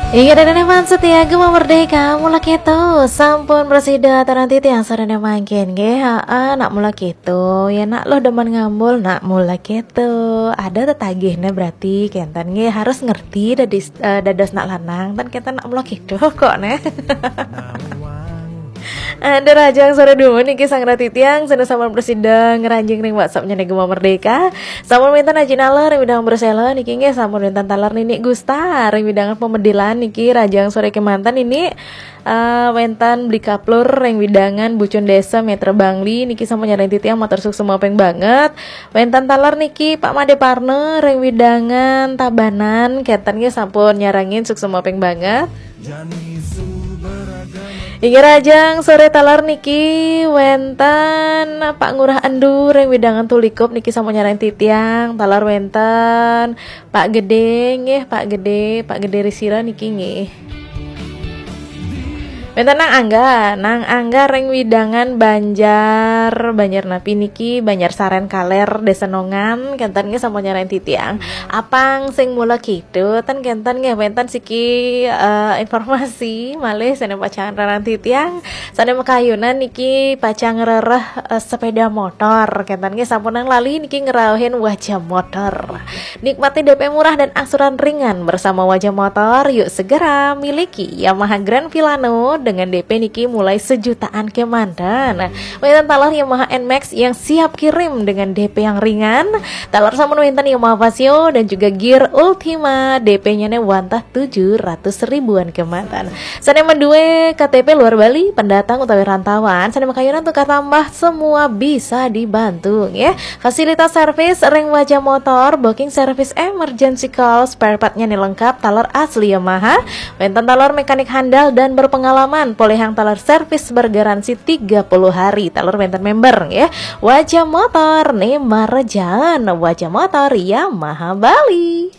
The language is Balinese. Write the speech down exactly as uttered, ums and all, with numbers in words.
Inggih, Ida dané setia Gema Merdeka, mula kéto. Sampun prasida aturang titiang sadaya mangkin nggih. Haa, nak mula kéto. Ya nak luh demen ngambul, nak mula kéto. Ada tetagihné berarti kénten nggih, harus ngerti dadis, eh, dados nak lanang, ten kénten nak mula kéto kok né. Ada rahajeng soré dumun niki sareng titiang, sané sampun prasida ngranjing ring WhatsApp-nya Gema Merdeka. Sampun wénten Aji Naler ring widang Persela niki nggih, sampun wénten taler Nini Gusta ring widangan Pemedilan niki, rahajeng soré kémanten Nini. Eh, wénten Bli Kaplur ring widangan Bucun Desa Metra Bangli niki sampun nyarengin titiang, matur suksma ping banget. Wénten taler niki Pak Made Parna ring widangan Tabanan, kénten nggih sampun nyarengin, suksma ping banget. Inggih, rahajeng soré taler niki wénten Pak Ngurah Endu ring widangan Tulikup niki sampun nyarengin titiang, taler wénten Pak Gedé nggih, Pak Gedé, Pak Gedé Risira niki nggih. Wénten Nang Angga, Nang Angga ring widangan Banjar, Banjar napi niki, Banjar Saren Kaler, Desa Nongan, kénten nggih sampun nyarengin titiang. Apang sing mula kéto, ten kénten nggih, wénten siki, eh, informasi malih sané pacang nyarengin titiang. Sané makayunan niki pacang ngrereh, eh, sepeda motor. Kénten nggih, sampun nang lali niki ngrauhin Wajah Motor. Nikmati D P murah dan angsuran ringan bersama Wajah Motor. Yuk segera miliki Yamaha Grand Filano dengan D P niki mulai sejutaan kémanten. Wénten taler Yamaha N-Max yang siap kirim dengan D P yang ringan. Taler sampun wénten Yamaha Fazzio dan juga Gear Ultima, D P-nya né wantah tujuh ratus ribuan kémanten. Sané madué K T P luar Bali, pendatang utawi rantauan, sané makayunan tukar tambah, semua bisa dibantu, ya. Fasilitas servis ring Wajah Motor, booking service, emergency call, spare part-nya né lengkap, taler asli Yamaha, wénten taler mekanik handal dan berpengalaman, polihang taler servis bergaransi tiga puluh hari, taler wénten member, ya. Wajah Motor né marejaan, Wajah Motor Yamaha Bali.